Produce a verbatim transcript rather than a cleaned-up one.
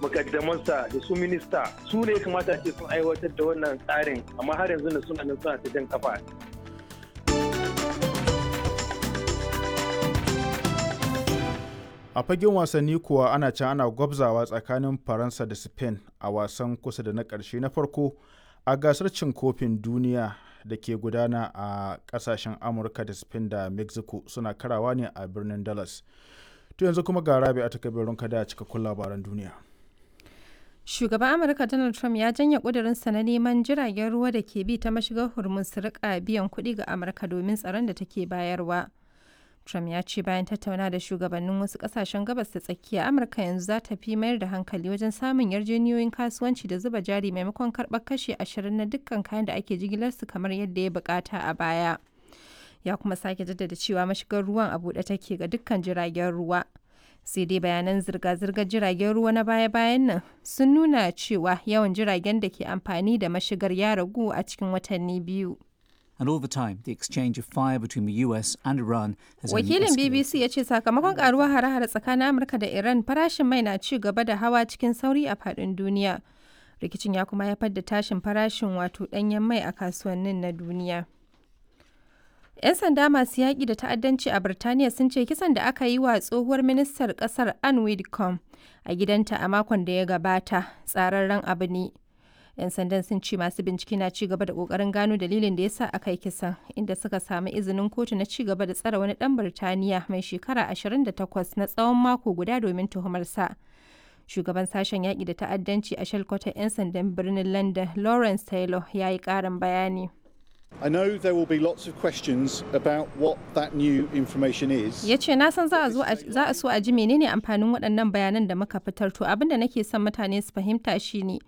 mukaddamansa da su minista su ne kamata ce sun aiwatar da wannan tsarin, amma har yanzu ne suna nan suna ta jan kafa. A fagen wasanni kuwa, ana can ana gwabzawa tsakanin Faransa da Spain a wasan kusa da na ƙarshe na farko a gasar cin kofin duniya da ke gudana a ƙasashen Amurka da Spain da Mexico, suna karawa ne a birnin Dallas. To, yanzu kuma ga Rabi a takabirin kada cikakkun labaran duniya. Shugaban Amurka Donald Trump ya janye ƙudurinsa na neman jiragen ruwa da ke bi ta mashigar Hormuz su rika biyan kuɗi ga Amurka domin tsaron da take bayarwa. Trump ya ce bayan tattauna da shugabannin wasu kasashen Gabas ta Tsakiya, Amurka yanzu za ta fi mayar da hankali wajen samun yarjejeniyoyin kasuwanci da zuba jari maimakon karɓar kashi ashirin na dukkan kayan da ake jigilarsu kamar yadda ya bukata a baya. Ya kuma sake jaddada cewa mashigar ruwan a buɗe take ga dukkan jiragen ruwa. Sai dai bayanan zirga-zirgar jiragen ruwa na baya-bayan nan sun nuna cewa yawan jiragen da ke amfani da mashigar ya ragu a cikin watanni biyu. And all the time, the exchange of fire between the U S and Iran has only Wakilin escalated. B B C ya ce sakamakon karuwar hare-hare tsakanin Amurka da Iran, farashin mai na ci gaba da hawa cikin sauri a faɗin duniya. Rikicin ya kuma haifar da tashin farashin wato ɗanyen mai a kasuwannin na duniya. 'Yan sanda masu yaƙi da ta'addanci a Birtaniya sun ce kisan da aka yi wa tsohuwar ministar ƙasar Anne Widdecombe a gidanta a makon da ya gabata tsararren abu ne. 'Yan sandan sun ce masu bincike na ci gaba da kokarin gano dalilin da ya sa aka yi kisan, inda suka samu izinin kotu na ci gaba da tsare wani dan Birtaniya mai shekara ashirin da takwas na tsawon mako guda domin tuhumarsa. Shugaban sashen yaƙi da ta'addanci a shalkwatar 'yan sandan birnin London, Lawrence Taylor, ya yi ƙarin bayani. I know there will be lots of questions about what that new information is. Ya ce na san za a zo a- za a so a ji menene amfanin waɗannan bayanan da muka fitar. To, abin da nake son mutane su fahimta shine